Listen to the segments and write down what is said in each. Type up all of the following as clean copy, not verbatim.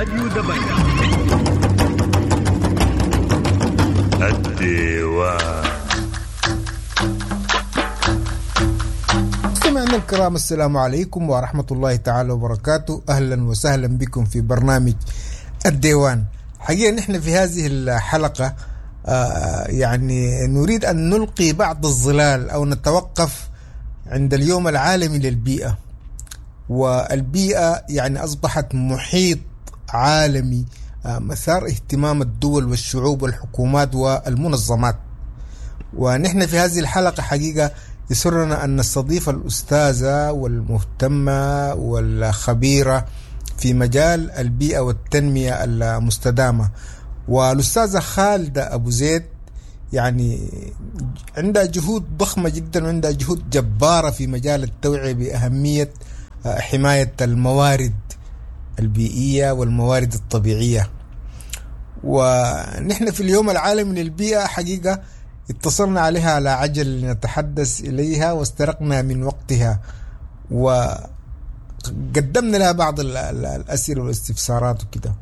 راديو دبنجة. الديوان. مستمعينا الكرام، السلام عليكم ورحمة الله تعالى وبركاته. أهلا وسهلا بكم في برنامج الديوان. حقيقة نحن في هذه الحلقة يعني نريد أن نلقي بعض الظلال أو نتوقف عند اليوم العالمي للبيئة. والبيئة يعني أصبحت محيط عالمي مثار اهتمام الدول والشعوب والحكومات والمنظمات. ونحن في هذه الحلقة حقيقة يسرنا أن نستضيف الأستاذة والمهتمة والخبيرة في مجال البيئة والتنمية المستدامة، والأستاذة خالدة أبو زيد. يعني عندها جهود ضخمة جدا وعندها جهود جبارة في مجال التوعية بأهمية حماية الموارد البيئية والموارد الطبيعية. ونحن في اليوم العالمي للبيئة حقيقة اتصلنا عليها على عجل لنتحدث إليها واسترقنا من وقتها وقدمنا لها بعض الأسئلة والاستفسارات وكده.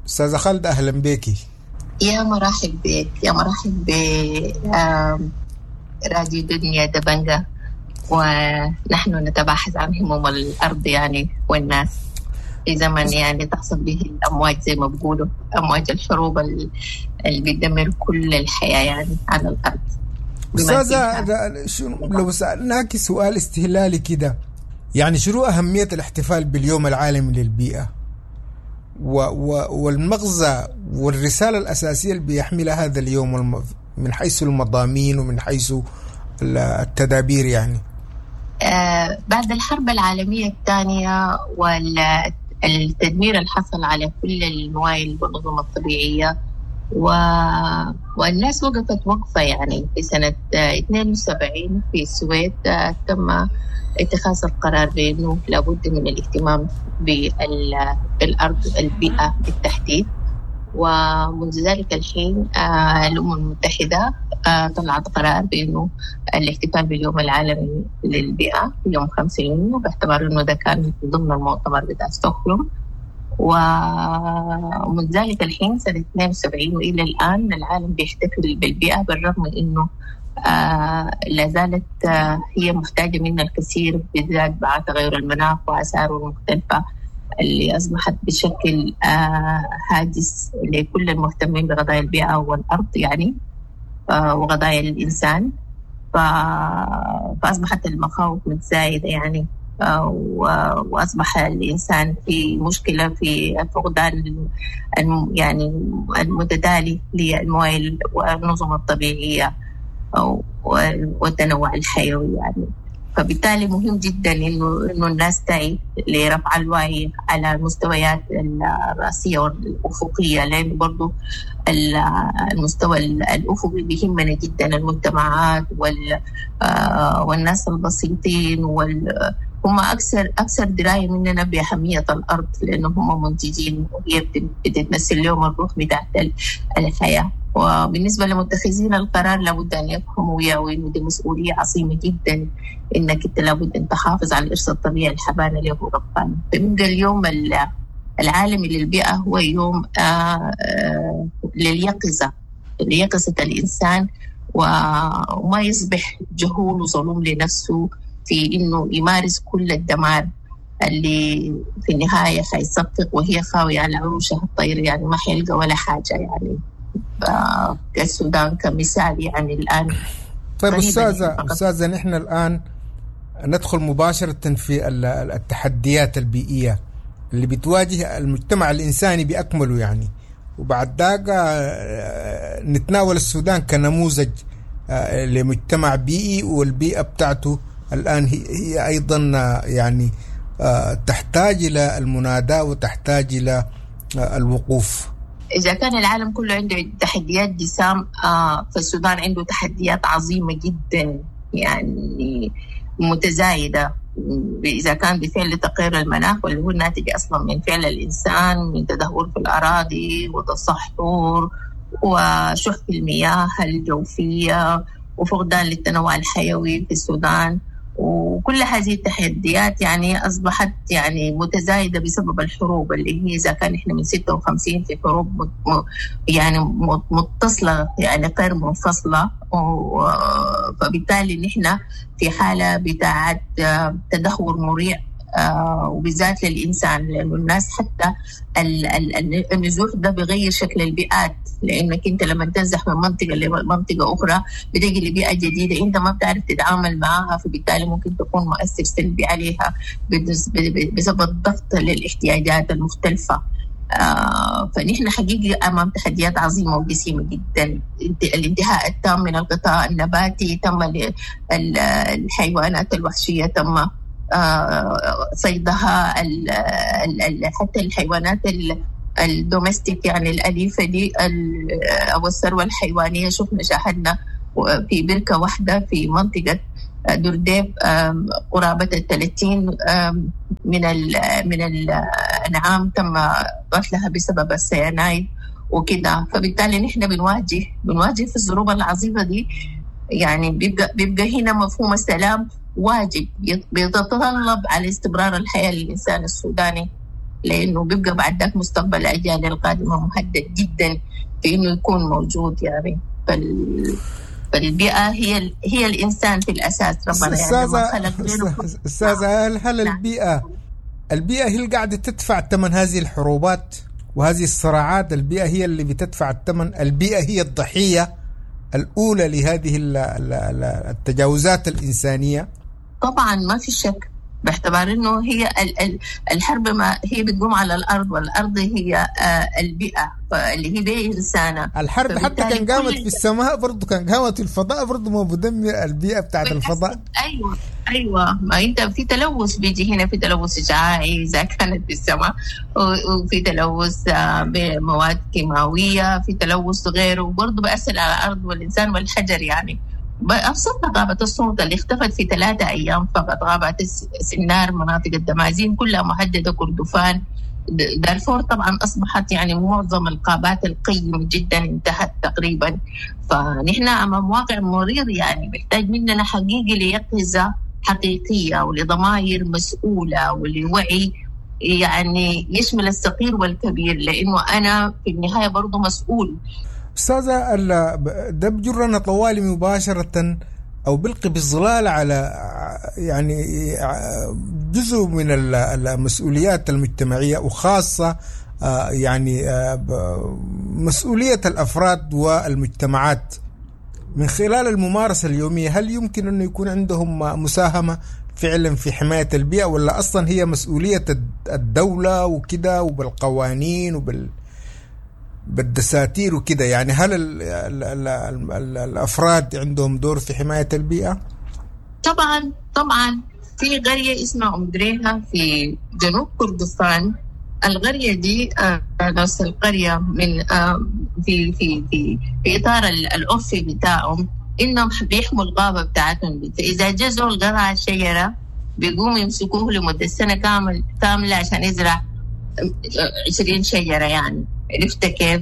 أستاذة خالدة، أهلا بك. يا مرحب بك، يا مرحب ب راديو دنيا دبنجة، ونحن نتباحث عن هموم الأرض يعني والناس في زمن يعني تحصل به الأمواج زي ما بيقولوا، أمواج الحروب اللي بتدمر كل الحياة يعني على الأرض. أستاذة، لو سألناك سؤال استهلالي كده، يعني شنو أهمية الاحتفال باليوم العالمي للبيئة والمغزى والرسالة الأساسية اللي بيحملها هذا اليوم من حيث المضامين ومن حيث التدابير؟ يعني بعد الحرب العالمية الثانية والتدمير اللي حصل على كل الموائل والنظم الطبيعية والناس وقفت وقفة يعني في سنة 72 في السويد تم اتخاذ القرار بأنه لابد من الاهتمام بالأرض، البيئة بالتحديد. ومنذ ذلك الحين الأمم المتحدة طلعت قرار بأنه الاحتفال باليوم العالمي للبيئة يوم 5 يونيو، باعتبار أنه ده كان ضمن المؤتمر بتاع ستوكهولم. ومن ذلك الحين سنة 72 وإلى الآن العالم بيحتفل بالبيئة، بالرغم من أنه لا زالت هي محتاجة منا الكثير، بالذات بعد تغير المناخ وآثاره المختلفة اللي أصبحت بشكل هاجس لكل المهتمين بقضايا البيئة والأرض يعني وقضايا الإنسان. فأصبحت المخاوف متزايدة يعني، وأصبح الإنسان في مشكلة في فقدان يعني المتدالي للموائل والنظم الطبيعية والتنوع الحيوي يعني. فبالتالي مهم جدا انه الناس تعي لرفع الوعي على المستويات الرأسية والأفقية، لأنه برضو المستوى الأفقي بيهمنا جدا، المجتمعات والناس البسيطين هم أكثر دراية مننا بأهمية الأرض، لأنه هم منتجين وهي بتتمثل لهم الروح بتاعت الحياة. وبالنسبة لمتخذين القرار لابد أن يفهموا ويعوا إنه دي مسؤولية عظيمة جدا، إنك أنت لابد أن تحافظ على الإرث الطبيعي الحبانة اللي هو ربنا. فبيبقى اليوم العالمي للبيئة هو يوم لليقظة، ليقظة الإنسان، وما يصبح جهول وظلوم لنفسه في إنه يمارس كل الدمار اللي في النهاية حيصفق وهي خاوية على عروشها الطير، يعني ما حيلقى ولا حاجة يعني. السودان كمثال يعني الآن. طيب أستاذة، نحن الآن ندخل مباشرة في التحديات البيئية اللي بتواجه المجتمع الإنساني بأكمله يعني، وبعد ذاك نتناول السودان كنموذج لمجتمع بيئي، والبيئة بتاعته الآن هي أيضا يعني تحتاج إلى المناداة وتحتاج إلى الوقوف. إذا كان العالم كله عنده تحديات جسام، فالسودان عنده تحديات عظيمة جدا يعني متزايدة. إذا كان بفعل تغير المناخ واللي هو الناتج أصلا من فعل الإنسان، من تدهور في الأراضي وتصحر وشح في المياه الجوفية وفقدان للتنوع الحيوي في السودان، وكل هذه التحديات يعني أصبحت يعني متزايدة بسبب الحروب اللي هي إذا كان إحنا من 56 في حروب يعني متصلة يعني غير منفصلة، فبالتالي نحن في حالة بتاعت تدهور مريع، وبالذات للإنسان، لأنه الناس حتى النزوح ده بيغير شكل البيئات، لأنك أنت لما تنزح من منطقة لمنطقة أخرى بتجي لبيئة جديدة أنت ما بتعرف تتعامل معها، فبالتالي ممكن تكون مؤثر سلبي عليها بسبب الضغط للاحتياجات المختلفة. فنحن حقيقي أمام تحديات عظيمة وجسيمة جدا. الانتهاء التام من الغطاء النباتي، تم الحيوانات الوحشية تم صيدها، حتى الحيوانات الدومستيك يعني الأليفة دي أو الثروة الحيوانية، شفنا شاهدنا في بركة واحدة في منطقة درديب قرابة 30 من الأنعام تم قتلها بسبب السيانايد وكده. فبالتالي نحن بنواجه في الظروف العظيمة دي، يعني بيبقى هنا مفهوم السلام واجب بيتطلب على استمرار الحياة للإنسان السوداني، لأنه بيبقى بعد ذاك مستقبل الأجيال القادمة مهدد جدا في إنه يكون موجود يعني. فالبيئة هي الإنسان في الأساس، ربنا يعني ما خلق غيره. أستاذة، هل البيئة هي اللي قاعدة تدفع ثمن هذه الحروبات وهذه الصراعات؟ البيئة هي اللي بتدفع الثمن، البيئة هي الضحية الأولى لهذه التجاوزات الإنسانية. طبعا ما في شك، باعتبار انه هي الحرب ما هي بتقوم على الارض، والارض هي البيئه اللي هي بيئه انسانه. الحرب حتى كان قامت في السماء برضه، كان قامت في الفضاء برضه، ما بدمر البيئه بتاعت الفضاء. ايوه، ما انت في تلوث بيجي هنا، في تلوث اشعاعي اذا كانت في السماء، وفي تلوث بمواد كيماويه، في تلوث غيره، وبرضه بأثر على الارض والانسان والحجر يعني. أبسطها غابة الصمت اللي اختفت في 3 أيام فقط، غابة سنار، مناطق الدمازين كلها مهددة، كردفان، دارفور طبعا أصبحت يعني معظم الغابات القيمة جدا انتهت تقريبا. فنحن أمام واقع مرير يعني، بيحتاج مننا حقيقي ليقظة حقيقية ولضمائر مسؤولة ولوعي يعني يشمل الصغير والكبير، لأنه أنا في النهاية برضو مسؤول. أستاذة، ده بجرنا طوالي مباشرة أو بلقي بالظلال على يعني جزء من المسؤوليات المجتمعية، وخاصة يعني مسؤولية الأفراد والمجتمعات من خلال الممارسة اليومية. هل يمكن أنه يكون عندهم مساهمة فعلا في حماية البيئة، ولا أصلا هي مسؤولية الدولة وكده وبالقوانين بالدساتير وكده؟ يعني هل ال ال ال ال الأفراد عندهم دور في حماية البيئة؟ طبعا طبعا. في قرية اسمها أم دريها في جنوب كردفان، القرية دي نفس القرية من في في في في إطار العرفي بتاعهم إنهم بيحموا الغابة بتاعتهم، فإذا جزوا القرعة الشجرة بيقوموا يمسكوه لمدة سنة كاملة عشان يزرع 20 شجرة يعني، عرفت كيف؟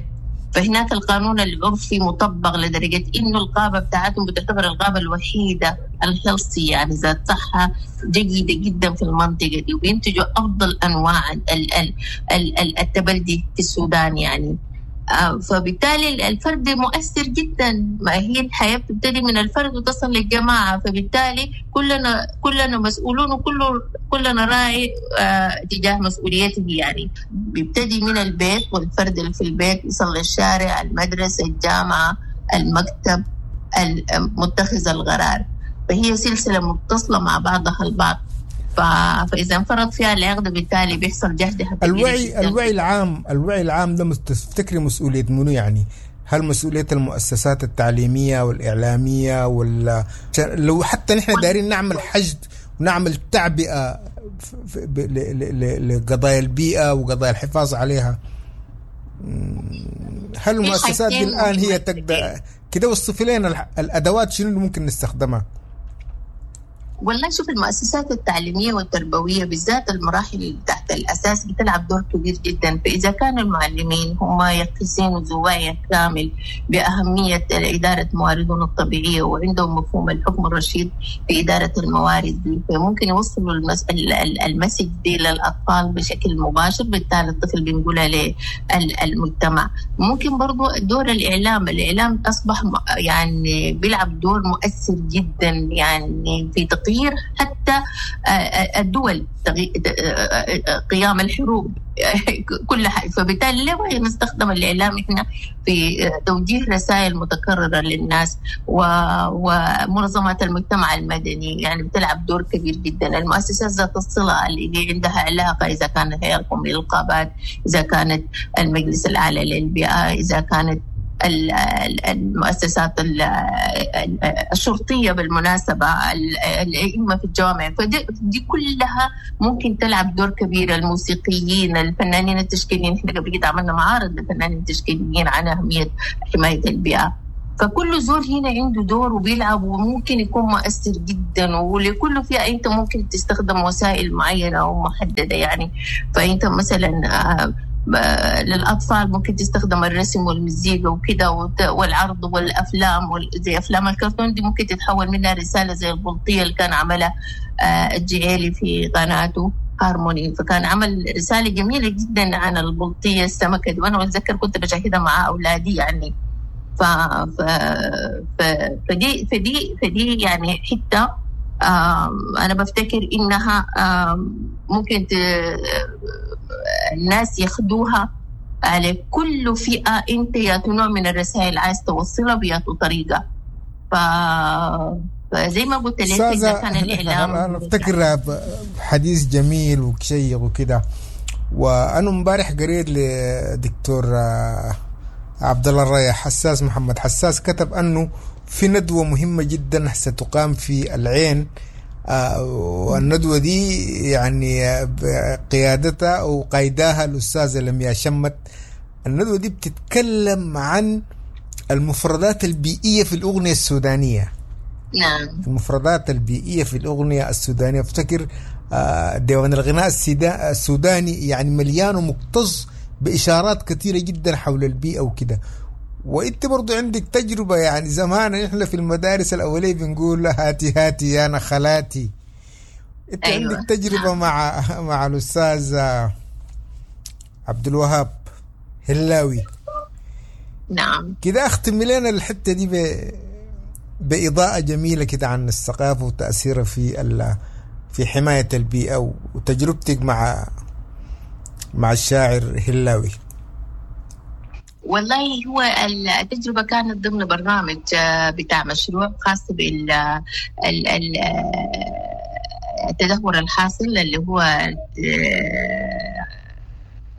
فهناك القانون العرفي مطبق لدرجة إنه الغابة بتاعتهم بتعتبر الغابة الوحيدة الهيلثي يعني ذات صحة جيدة جدا في المنطقة دي، وبينتجوا أفضل أنواع التبلدي في السودان يعني. فبالتالي الفرد مؤثر جدا، ما هي الحياة بتبتدي من الفرد وتصل للجماعة، فبالتالي كلنا مسؤولون وكلنا راعي تجاه مسؤوليته يعني. بيبتدي من البيت، والفرد اللي في البيت يصل للشارع، المدرسة، الجامعة، المكتب، متخذ القرار، فهي سلسلة متصلة مع بعضها البعض. فإذا انفرط فيها العقد بالتالي بيحصل جهد. الوعي العام ده تفتكري مسؤولية منو يعني؟ هل مسؤولية المؤسسات التعليمية والإعلامية، ولا لو حتى نحن دارين نعمل حشد ونعمل تعبئة لقضايا البيئة وقضايا الحفاظ عليها، هل المؤسسات دي الآن هي تقدر كده؟ وصفي لنا الأدوات شنو اللي ممكن نستخدمها؟ والله شوف، المؤسسات التعليمية والتربوية بالذات المراحل تحت الأساس بتلعب دور كبير جدا. فإذا كان المعلمين هم يقظين ذو وعي كامل بأهمية إدارة مواردهم الطبيعية وعندهم مفهوم الحكم الرشيد في إدارة الموارد دي، فممكن يوصلوا ال message دي للأطفال بشكل مباشر، بالتالي الطفل بينقلها للمجتمع. ممكن برضو دور الإعلام، الإعلام أصبح يعني بيلعب دور مؤثر جدا يعني في تغيير حتى الدول، قيام الحروب، كل حاجة. فبالتالي ليه نستخدم الإعلام إحنا في توجيه رسائل متكررة للناس؟ ومنظمات المجتمع المدني يعني بتلعب دور كبير جدا. المؤسسات ذات الصلة اللي عندها علاقة، إذا كانت الهيئة القومية للغابات، إذا كانت المجلس الأعلى للبيئة، إذا كانت المؤسسات الشرطية، بالمناسبة الأئمة في الجوامع، فدي كلها ممكن تلعب دور كبير. الموسيقيين، الفنانين التشكيليين، احنا قبل كده عملنا معارض للفنانين التشكيليين عن أهمية حماية البيئة. فكل زول هنا عنده دور وبيلعب وممكن يكون مؤثر جدا، ولكل فئة أنت ممكن تستخدم وسائل معينة ومحددة يعني. فأنت مثلا للأطفال ممكن تستخدم الرسم والمزيكا وكده والعرض والأفلام، زي أفلام الكرتون دي ممكن تتحول منها رسالة، زي البلطية اللي كان عملها الجعيلي في قناته هارموني، فكان عمل رسالة جميلة جدا عن البلطية السمكة دي، وأنا أتذكر كنت بشاهدها مع أولادي يعني. ف... ف... ف... فدي فدي فدي يعني حتة أنا بفتكر إنها ممكن الناس ياخدوها على كل فئة، أنت يا نوع من الرسائل عايز توصلها بياتو طريقة. فزي ما قلت لك إذا كان الإعلام، أنا أفتكر حديث جميل وشيق وكده. وأنا امبارح قريت لدكتور عبد الله الريح حساس، محمد حساس، كتب أنه في ندوة مهمة جدا ستقام في العين، والندوة دي يعني قيادتها أو قيداها الأستاذة لمياء شمت. الندوة دي بتتكلم عن المفردات البيئية في الأغنية السودانية. نعم، المفردات البيئية في الأغنية السودانية. افتكر ديوان الغناء السوداني يعني مليان ومكتظ بإشارات كثيرة جدا حول البيئة وكده. وانت برضو عندك تجربة، يعني زمان احنا في المدارس الأولية بنقول هاتي هاتي يا نخلاتي. انت أيوة. عندك تجربة مع الأستاذ عبد الوهاب هلاوي. نعم، كده اختم لنا الحتة دي بإضاءة جميلة كده عن الثقافة وتأثيرها في حماية البيئة وتجربتك مع الشاعر هلاوي. والله هو التجربة كانت ضمن برنامج بتاع مشروع خاص بال التدهور الحاصل اللي هو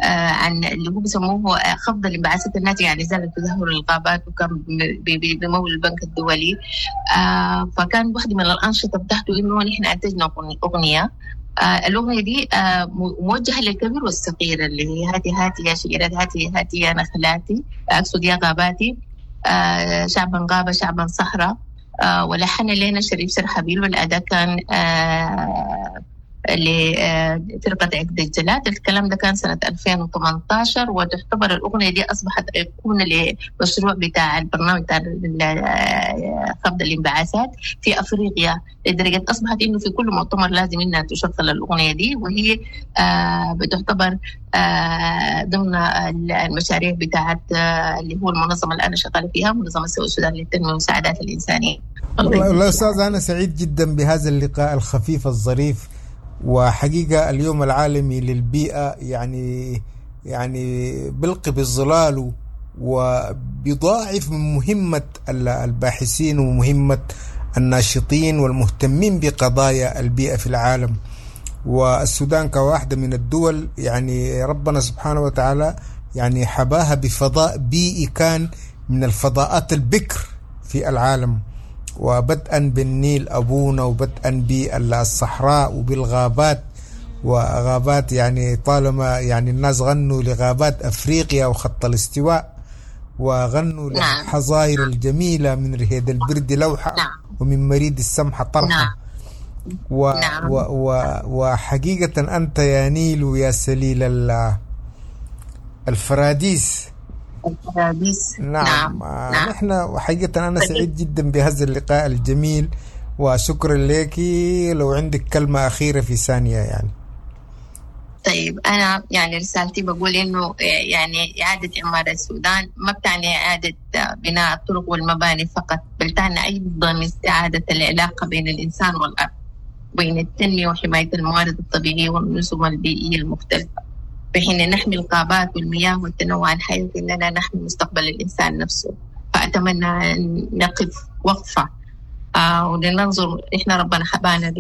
عن اللي هو بيسموه خفض الانبعاثات الناتجة عن إزالة تدهور الغابات، وكان بمول البنك الدولي. فكان واحدة من الأنشطة بتاعته إنه نحن أنتجنا أغنية. الأغنية دي موجهة للكبير والصغير، اللي هي هاتي هاتي يا شجرات، هاتي هاتي يا نخلاتي، أقصد يا غاباتي، شعبا غابة شعبا صحراء. ولحن لنا شريف سرحبيل، والأداء كان لفرقة عقد الجلاد. الكلام ده كان سنة 2018، وتعتبر الأغنية دي أصبحت أيقونة لمشروع بتاع البرنامج بتاع خفض الانبعاثات في أفريقيا، لدرجة أصبحت إنه في كل مؤتمر لازم إنها تشغل الأغنية دي، وهي بتعتبر ضمن المشاريع بتاعت اللي هو المنظمة اللي أنا شغالة فيها، منظمة سوق السودان للتنمية والمساعدات الإنسانية. والله أستاذ أنا سعيد جدا بهذا اللقاء الخفيف الظريف، وحقيقة اليوم العالمي للبيئة يعني بلقي بالظلال وبيضاعف من مهمة الباحثين ومهمة الناشطين والمهتمين بقضايا البيئة في العالم. والسودان كواحدة من الدول يعني ربنا سبحانه وتعالى يعني حباها بفضاء بيئي كان من الفضاءات البكر في العالم، وبدءا بالنيل أبونا، وبدءا بالصحراء وبالغابات، وغابات يعني طالما يعني الناس غنوا لغابات أفريقيا وخط الاستواء، وغنوا للحظائر الجميلة من رهيد البرد لوحة ومن مريد السمحة طرحة. و نعم. و و وحقيقة أنت يا نيل ويا سليل الفراديس. الفراديس. نعم. نعم. نحن حقيقة أنا سعيد جدا بهذا اللقاء الجميل، وشكرا لك. لو عندك كلمة أخيرة في ثانية يعني. طيب، أنا يعني رسالتي بقول إنه يعني إعادة إعمار السودان ما بتعني إعادة بناء الطرق والمباني فقط، بل تعني أيضا استعادة العلاقة بين الإنسان والأرض، بين التنمية وحماية الموارد الطبيعية والنظم البيئية المختلفة، بحين نحمي الغابات والمياه والتنوع الحيوي إننا نحمي مستقبل الإنسان نفسه. فأتمنى أن نقف وقفة ولننظر، إحنا ربنا حبانا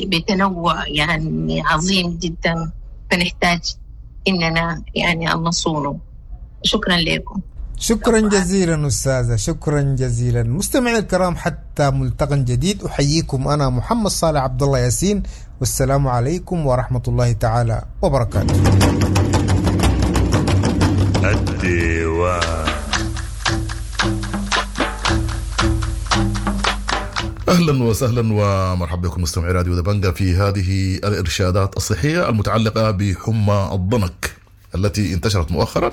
بتنوع يعني عظيم جدا، فنحتاج إننا يعني أن نصونه. شكرا لكم. شكرا جزيلا أستاذة، شكرا جزيلا. مستمعي الكرام، حتى ملتقى جديد أحييكم أنا محمد صالح عبد الله ياسين، والسلام عليكم ورحمة الله تعالى وبركاته. الديوان. اهلا وسهلا ومرحبا بكم مستمعي راديو دبنجا في هذه الارشادات الصحية المتعلقة بحمى الضنك التي انتشرت مؤخرا.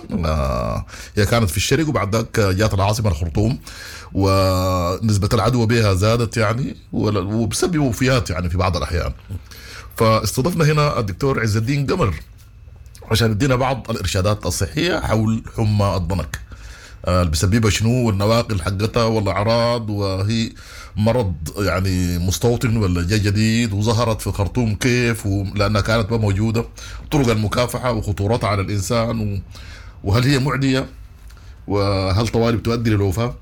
هي كانت في الشرق وبعد ذاك جات العاصمة الخرطوم، ونسبه العدوى بها زادت يعني وبسبب وفيات يعني في بعض الاحيان. فاستضفنا هنا الدكتور عز الدين قمر عشان يدينا بعض الارشادات الصحية حول حمى الضنك، اللي بيسببها شنو، والنواقل حقتها والاعراض، وهي مرض يعني مستوطن ولا جاي جديد، وظهرت في الخرطوم كيف، لانها كانت ما موجودة، طرق المكافحه وخطورتها على الانسان، وهل هي معدية، وهل طوالي بتؤدي للوفاه.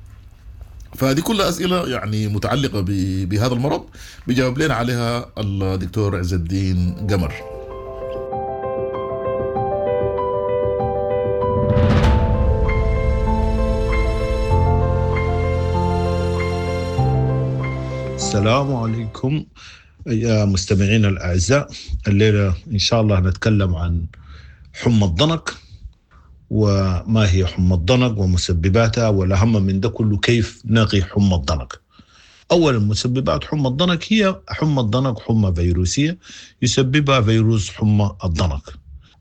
فهذه كلها اسئلة يعني متعلقه بهذا المرض بيجاوب لنا عليها الدكتور عز الدين قمر. السلام عليكم يا مستمعين الأعزاء. الليلة إن شاء الله نتكلم عن حمى الضنك، وما هي حمى الضنك ومسبباتها، والأهم من ده كله كيف نقي حمى الضنك. أولا، مسببات حمى الضنك هي حمى الضنك حمى فيروسية يسببها فيروس حمى الضنك.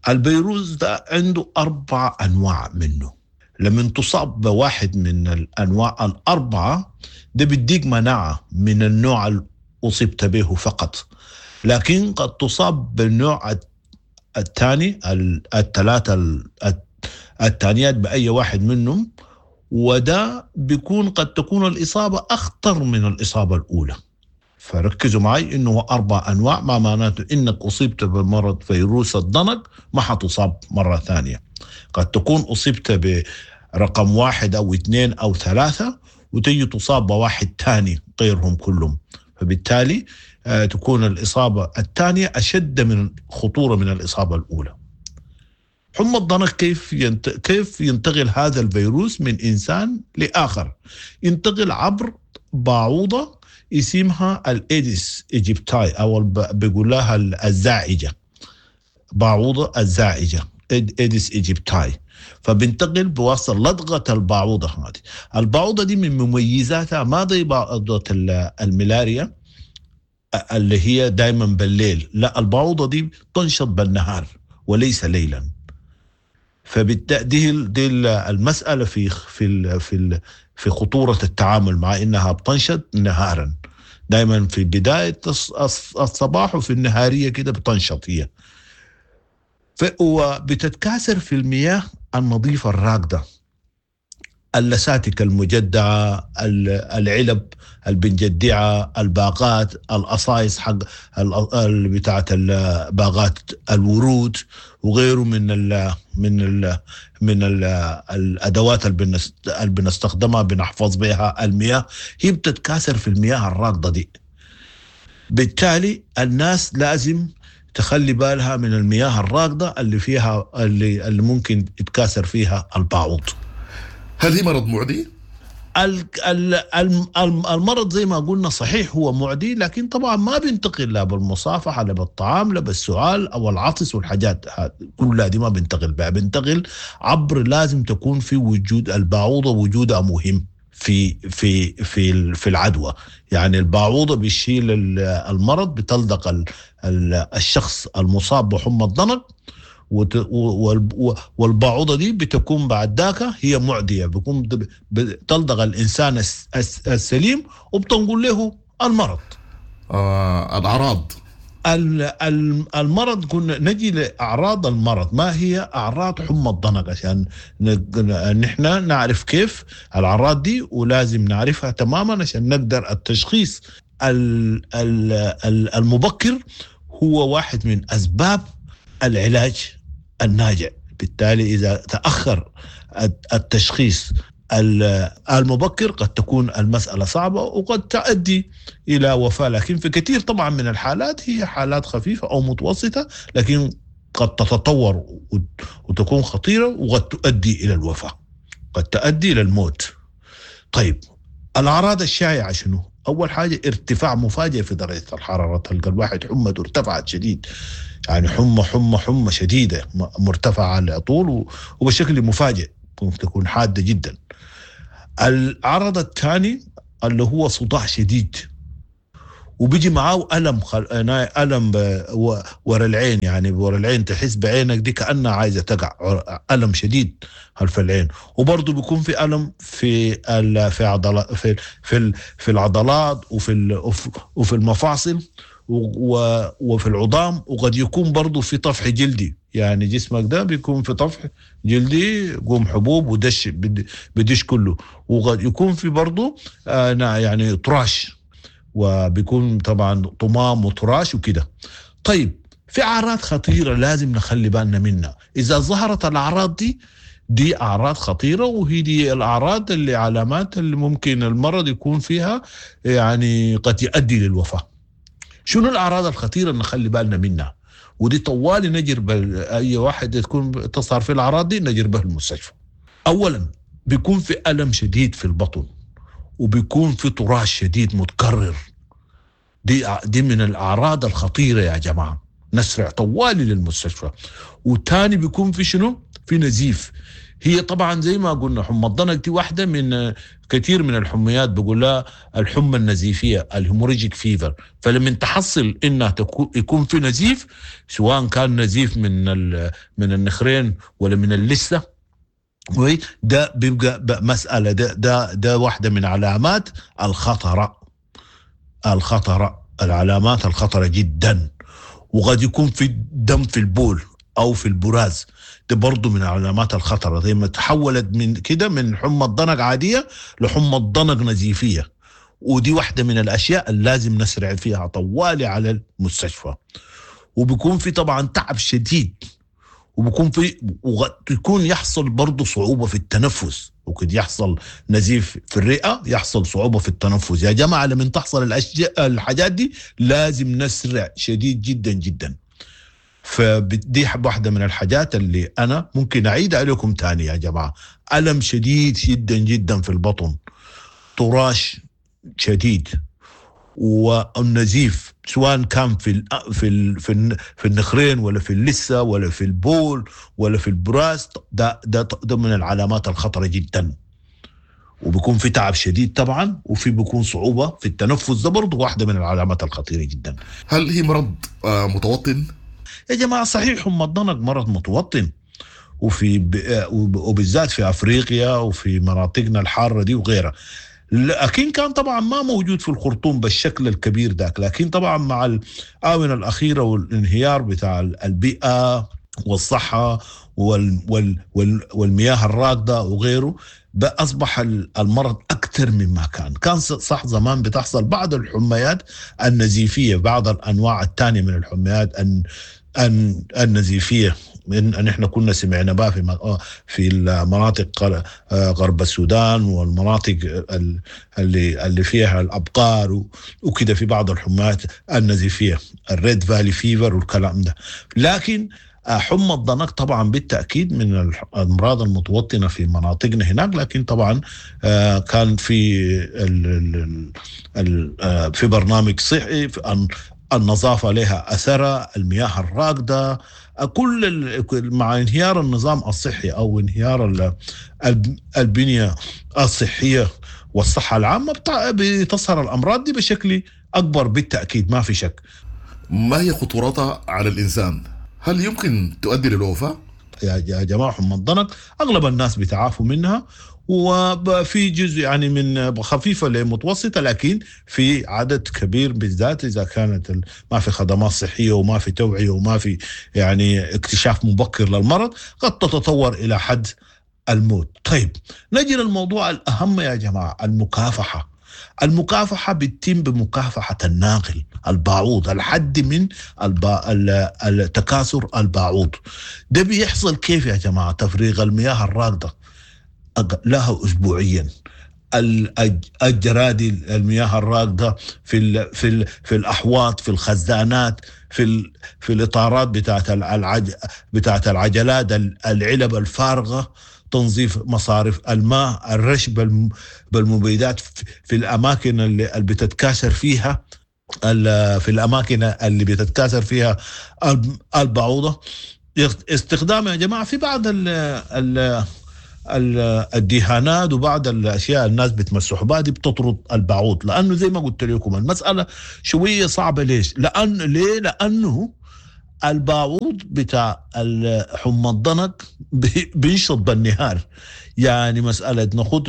الفيروس ده عنده 4 أنواع منه، لما تصاب بواحد من الأنواع 4 ده بيديك مناعة من النوع اللي أصبت به فقط، لكن قد تصاب بالنوع الثاني، الثلاثة الثانيات بأي واحد منهم، وده بيكون قد تكون الإصابة أخطر من الإصابة الأولى. فركزوا معي إنه 4 أنواع، ما معناته إنك أصبت بمرض فيروس الضنك ما حتصاب مرة ثانية. قد تكون أصبت برقم 1 أو 2 أو 3 وتجي تصاب بواحد ثاني غيرهم كلهم، فبالتالي تكون الإصابة الثانية أشد من خطورة من الإصابة الأولى. حمى الضنك كيف ينتقل هذا الفيروس من إنسان لآخر؟ ينتقل عبر باعوضة اسمها ال Aedes aegypti، أو بيقول لها الزاعجة، باعوضة الزاعجة Aedes aegypti. فبنتقل بواسطة لدغة الباعوضة هذه. الباعوضة دي من مميزاتها ما زي باعوضة الملاريا اللي هي دايما بالليل، لا، الباعوضة دي تنشط بالنهار وليس ليلا. فبالتالي دي المسألة في في في في خطورة التعامل مع إنها بتنشط نهارا، دايما في بداية الصباح وفي النهارية كده بتنشط هي. وبتتكاثر في المياه النظيفة الراكدة، اللساتك المجدعة، العلب البنجدعة، الباقات، القصايص حق بتاعة باغات الورود وغيره من ال من ال من ال الأدوات اللي بنستخدمها بنحفظ بها المياه، هي بتتكاثر في المياه الراكدة دي. بالتالي الناس لازم تخلي بالها من المياه الراكدة اللي فيها اللي ممكن يتكاثر فيها الباعوض. هل هي مرض معدي؟ المرض زي ما قلنا صحيح هو معدي، لكن طبعا ما بينتقل لا بالمصافحة لا بالطعام لا بالسعال أو العطس والحاجات كلها دي ما بينتقل بها. بينتقل عبر، لازم تكون في وجود الباعوضة، وجودها مهم في في في في العدوى. يعني البعوضة بيشيل المرض، بتلدغ الشخص المصاب بحمى الضنك، والبعوضة دي بتكون بعد ذاك هي معدية، بيكون بتلدغ الإنسان السليم وبتنقل له المرض. الأعراض المرض، قلنا نجي لأعراض المرض. ما هي أعراض حمى الضنك عشان نحن نعرف كيف الأعراض دي، ولازم نعرفها تماما عشان نقدر التشخيص المبكر هو واحد من أسباب العلاج الناجع. بالتالي إذا تأخر التشخيص المبكر قد تكون المسألة صعبة وقد تؤدي إلى وفاة، لكن في كثير طبعا من الحالات هي حالات خفيفة أو متوسطة، لكن قد تتطور وتكون خطيرة وقد تؤدي إلى الوفاة، قد تؤدي إلى الموت. طيب الأعراض الشائعة شنو؟ أول حاجة ارتفاع مفاجئ في درجة الحرارة، تلقى الواحد حمته ارتفعت شديد، يعني حمى حمى حمى شديدة مرتفعة على طول وبشكل مفاجئ، ممكن تكون حادة جدا. العرض الثاني اللي هو صداع شديد، وبيجي معاه ألم ألم ورا العين، يعني ورا العين تحس بعينك دي كأنها عايزة تقع، ألم شديد خلف العين. وبرضه بيكون في ألم في في عضلات، في في في العضلات وفي وفي المفاصل وفي العظام، وقد يكون برضه في طفح جلدي، يعني جسمك ده بيكون في طفح جلدي، قوم حبوب ودش بدش كله، وقد يكون في برضه يعني طراش، وبيكون طبعا طمام وطراش وكده. طيب في أعراض خطيرة لازم نخلي بالنا منها، إذا ظهرت الأعراض دي أعراض خطيرة، وهي دي الأعراض اللي علامات اللي ممكن المرض يكون فيها يعني قد يؤدي للوفاة. شنو الأعراض الخطيرة اللي نخلي بالنا منها؟ ودي طوالي نجر أي واحد تكون تظهر في الأعراض دي نجر به المستشفى. أولا بيكون في ألم شديد في البطن، وبيكون في طراش شديد متكرر، دي من الأعراض الخطيرة يا جماعة، نسرع طوالي للمستشفى. وتاني بيكون في شنو؟ في نزيف. هي طبعا زي ما قلنا حمى الضنك دي واحدة من كثير من الحميات، بقول لها الحمى النزيفية ال hemorrhagic fever. فلما تحصل انها يكون في نزيف، سواء كان نزيف من النخرين ولا من اللثة، ده بيبقى مسألة، ده واحدة من علامات الخطرة، العلامات الخطرة جدا. وقد يكون في دم في البول أو في البراز، ده برضو من علامات الخطرة. زي ما تحولت من كده من حمى الضنك عادية لحمى الضنك نزيفية، ودي واحدة من الأشياء اللي لازم نسرع فيها طوالي على المستشفى. وبيكون في طبعا تعب شديد، وبيكون في ويكون يحصل برضو صعوبة في التنفس، وقد يحصل نزيف في الرئة، يحصل صعوبة في التنفس. يا جماعة لما تحصل الحاجات دي لازم نسرع شديد جدا جدا. فدي واحدة من الحاجات اللي أنا ممكن أعيد عليكم تاني يا جماعة. ألم شديد جدا جدا في البطن، طراش شديد، والنزيف سواء كان في في في في النخرين ولا في اللثة ولا في البول ولا في البراز، ده من العلامات الخطرة جدا. وبيكون في تعب شديد طبعا، وفي بيكون صعوبة في التنفس، ده برضه واحدة من العلامات الخطيرة جدا. هل هي مرض متوطن؟ يا جماعة صحيح حمى الضنك مرض متوطن، وفي وبالذات في افريقيا وفي مناطقنا الحارة دي وغيرها، لكن كان طبعا ما موجود في الخرطوم بالشكل الكبير ذاك. لكن طبعا مع الآونة الأخيرة والانهيار بتاع البيئة والصحة والمياه الراكدة وغيره، أصبح المرض أكثر مما كان. كان صح زمان بتحصل بعض الحميات النزيفية، بعض الأنواع الثانية من الحميات النزيفية، إن احنا كنا سمعنا بها في المناطق غرب السودان والمناطق اللي فيها الابقار وكده، في بعض الحميات النزيفيه ال Red Valley fever والكلام ده. لكن حمى الضنك طبعا بالتاكيد من الامراض المتوطنه في مناطقنا هناك، لكن طبعا كان في في برنامج صحي في النظافة لها أثرها، المياه الراكدة، كل مع انهيار النظام الصحي أو انهيار البنية الصحية والصحة العامة بتظهر الأمراض دي بشكل أكبر بالتأكيد، ما في شك. ما هي خطورتها على الإنسان؟ هل يمكن تؤدي للوفاة؟ يا جماعة حمى الضنك أغلب الناس بيتعافوا منها، وفي جزء يعني من خفيفة لمتوسطة، لكن في عدد كبير بالذات إذا كانت ما في خدمات صحية وما في توعية وما في يعني اكتشاف مبكر للمرض قد تتطور إلى حد الموت. طيب نجي للموضوع الأهم يا جماعة، المكافحة. المكافحة بتتم بمكافحة الناقل الباعوض، الحد من التكاثر الباعوض. ده بيحصل كيف يا جماعة؟ تفريغ المياه الراكدة لها أسبوعيا، الجرادي المياه الراكدة في في في الأحواض، في الخزانات، في الإطارات بتاعت العجلات، العلب الفارغة، تنظيف مصارف الماء، الرش بالمبيدات في الأماكن اللي بتتكاثر فيها، في الأماكن اللي بتتكاثر فيها البعوضة. استخدام يا جماعة في بعض ال الدهانات وبعض الاشياء الناس بتمسح بها دي بتطرد البعوض، لانه زي ما قلت لكم المسالة شوية صعبة. ليش؟ لان ليه؟ لانه البعوض بتاع حمى الضنك بينشط بالنهار، يعني مسألة ناخد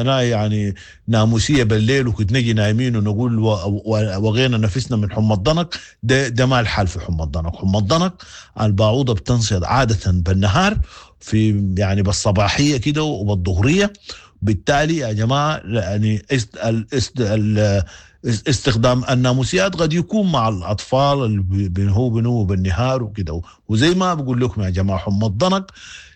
يعني ناموسية بالليل وكنت نجي نايمين ونقول وغينا نفسنا من حمى الضنك، ده ما الحال في حمى الضنك. حمى الضنك البعوضة بتنشط عادة بالنهار، في يعني بالصباحية كده وبالظهرية. بالتالي يا جماعة يعني استخدام الناموسيات قد يكون مع الأطفال اللي بنهو بالنهار وكده. وزي ما بقول لكم يا جماعة حمى الضنك